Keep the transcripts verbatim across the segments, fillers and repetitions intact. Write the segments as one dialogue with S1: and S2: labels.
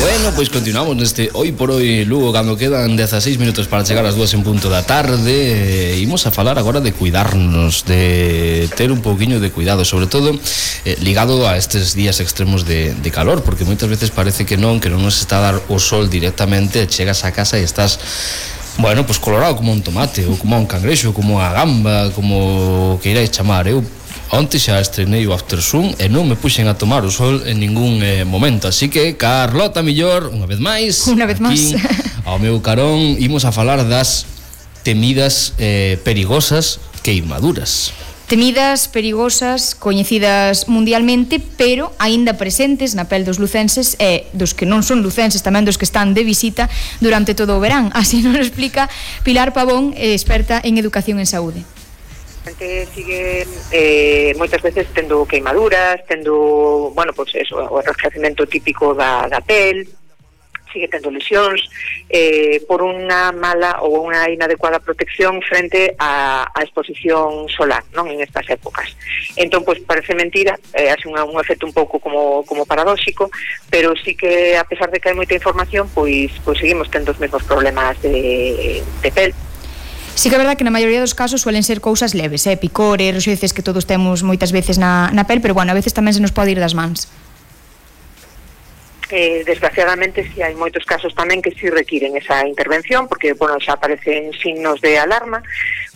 S1: Bueno, pois continuamos neste Hoy por Hoy Lugo, cando quedan dezaseis minutos para chegar ás dúas en punto da tarde. Imos a falar agora de cuidarnos, de ter un pouquiño de cuidado, sobre todo eh, ligado a estes días extremos de, de calor, porque moitas veces parece que non, que non nos está a dar o sol directamente, chegas a casa e estás, bueno, pois colorado como un tomate, ou como un cangrexo, como a gamba, como que iráis chamar. Eu onte xa estrenei o Aftersun e non me puxen a tomar o sol en ningún eh, momento, así que Carlota Millor, unha vez máis,
S2: unha vez máis
S1: ao meu carón, imos a falar das temidas eh, perigosas queimaduras.
S2: Temidas, perigosas, coñecidas mundialmente, pero aínda presentes na pel dos lucenses e dos que non son lucenses, tamén dos que están de visita durante todo o verán. Así nos explica Pilar Pavón, experta en educación en saúde.
S3: A xente sigue eh, moitas veces tendo queimaduras, tendo, bueno, pois eso, o enrojecemento típico da, da pel, sigue tendo lesións eh, por unha mala ou unha inadecuada protección frente a, a exposición solar, non, en estas épocas. Entón, pois parece mentira, eh, hace un, un efecto un pouco como, como paradóxico, pero sí que a pesar de que hai moita información, pois, pois seguimos tendo os mesmos problemas de, de pel.
S2: Sí que é verdad que na maioría dos casos suelen ser cousas leves, eh? picores, roxeces que todos temos moitas veces na, na pel, pero bueno, a veces tamén se nos pode ir das mans.
S3: Eh, desgraciadamente sí hai moitos casos tamén que sí requiren esa intervención, porque bueno, xa aparecen signos de alarma,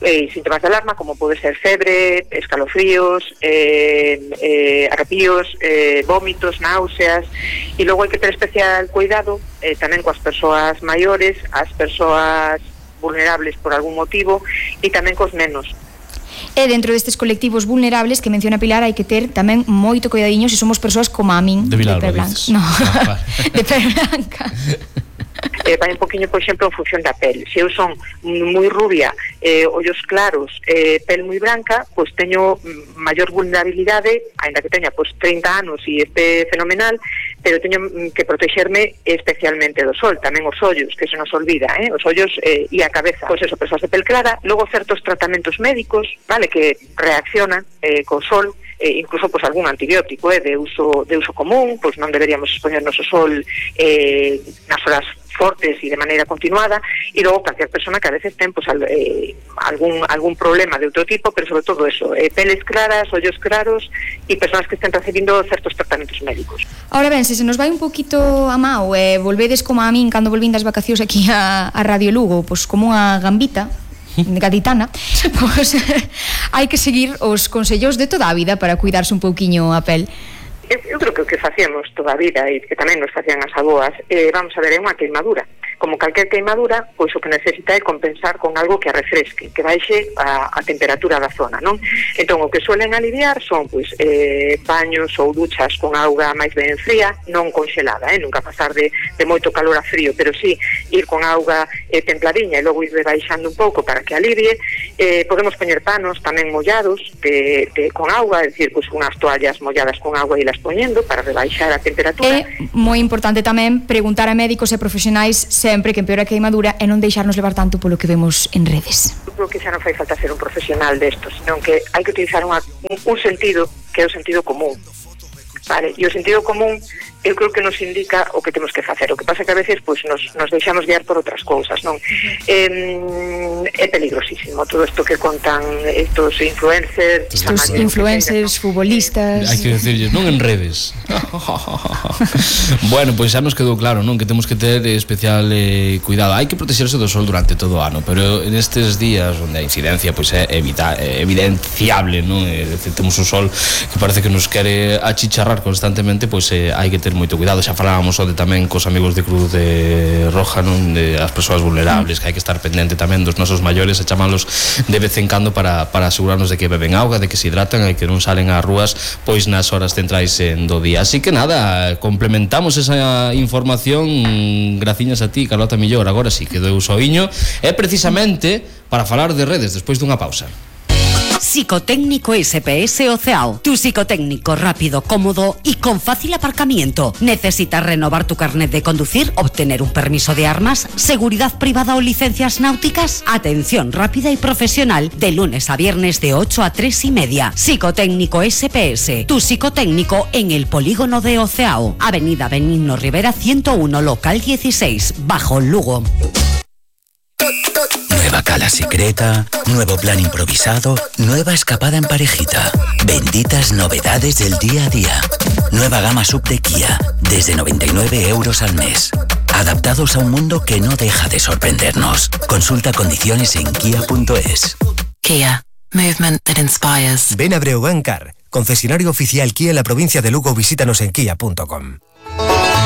S3: eh, síntomas de alarma como pode ser febre, escalofríos, eh, eh, arrepíos, eh, vómitos, náuseas, e logo hai que ter especial cuidado eh, tamén coas persoas maiores, as persoas vulnerables por algún motivo e tamén cos nenos.
S2: E dentro destes colectivos vulnerables que menciona Pilar hai que ter tamén moito cuidadiño se somos persoas como a min
S1: de,
S2: de pel blanca. No,
S1: ah,
S2: de pel blanca.
S3: Eh, vai un poquinho, por exemplo, en función da pel. Se eu son moi rubia, eh, ollos claros, eh, pel moi branca, pois teño maior vulnerabilidade, aínda que teña pois trinta anos e este fenomenal, pero teño que protexerme especialmente do sol, tamén os ollos, que se nos olvida, eh? os ollos eh, e a cabeza. Pois eso, persoas de pel clara, logo certos tratamentos médicos, vale, que reaccionan eh, co sol, eh, incluso pois algún antibiótico eh, de uso de uso común, pois non deberíamos expoñernos ao sol eh, nas horas fortes e de maneira continuada, e logo cualquier persona que a veces ten pues, al, eh, algún, algún problema de outro tipo, pero sobre todo eso, eh, peles claras, ollos claros e personas que estén recibindo certos tratamentos médicos.
S2: Ahora ben, se se nos vai un poquito a mao e eh, volvedes como a min cando volvín das vacacións aquí a, a Radio Lugo, pois como unha gambita gaditana, pois hai que seguir os consellos de toda a vida para cuidarse un pouquiño a pel.
S3: Eu, eu creo que o que facíamos toda a vida e que tamén nos facían as aboas, eh, vamos a ver, é unha queimadura. Como calquer queimadura, pois o que necesita é compensar con algo que a refresque, que baixe a, a temperatura da zona, non? Entón, o que suelen aliviar son, pois, eh, baños ou duchas con auga máis ben fría, non conxelada, eh? Nunca pasar de, de moito calor a frío, pero sí ir con auga eh, templadiña e logo ir rebaixando un pouco para que alivie. Eh, podemos poñer panos tamén mollados de, de, con auga, é dicir, pois, unhas toallas molladas con auga e las poñendo para rebaixar a temperatura.
S2: É moi importante tamén preguntar a médicos e profesionais sempre que empeora a queimadura e non deixarnos levar tanto polo que vemos en redes.
S3: Eu creo que xa non fai falta ser un profesional destos, senón que hai que utilizar unha, un, un sentido que é o sentido común. Vale, e o sentido común eu creo que nos indica o que temos que facer. O que pasa que a veces pues, nos, nos deixamos guiar por outras cousas, non? Eh, é peligrosísimo todo isto que contan estos influencers.
S2: Estos influencers, futbolistas.
S1: Hai que decirles, non en redes. Bueno, pois pues xa nos quedou claro, non? Que temos que ter especial eh, cuidado. Hai que protexerse do sol durante todo o ano, pero en estes días onde a incidencia pois pues, é evita, é evidenciable, non? É dicir, temos un sol que parece que nos quere achicharrar constantemente, pois pues, eh, hai que ter moito cuidado. Xa falábamos onde tamén cos amigos de Cruz de Roja, non? De as persoas vulnerables, que hai que estar pendente tamén dos nosos maiores e chamalos de vez en cando para, para asegurarnos de que beben auga, de que se hidratan e que non salen ás rúas pois nas horas centrais do día. Así que nada, complementamos esa información graciñas a ti, Carlota Millor. Agora sí que deu o soiño, é precisamente para falar de redes despois dunha pausa.
S4: Psicotécnico S P S Oceao. Tu psicotécnico rápido, cómodo y con fácil aparcamiento. ¿Necesitas renovar tu carnet de conducir, obtener un permiso de armas, seguridad privada o licencias náuticas? Atención rápida y profesional de lunes a viernes de ocho a tres y media. Psicotécnico S P S. Tu psicotécnico en el polígono de Oceao. Avenida Benigno Rivera ciento uno, local dieciséis, Bajo Lugo.
S5: Nueva cala secreta, nuevo plan improvisado, nueva escapada en parejita. Benditas novedades del día a día. Nueva gama sub de Kia, desde noventa y nueve euros al mes. Adaptados a un mundo que no deja de sorprendernos. Consulta condiciones en kia punto es.
S6: Kia. Movement that inspires.
S7: Ven a Breogán Car, concesionario oficial Kia en la provincia de Lugo. Visítanos en kia punto com.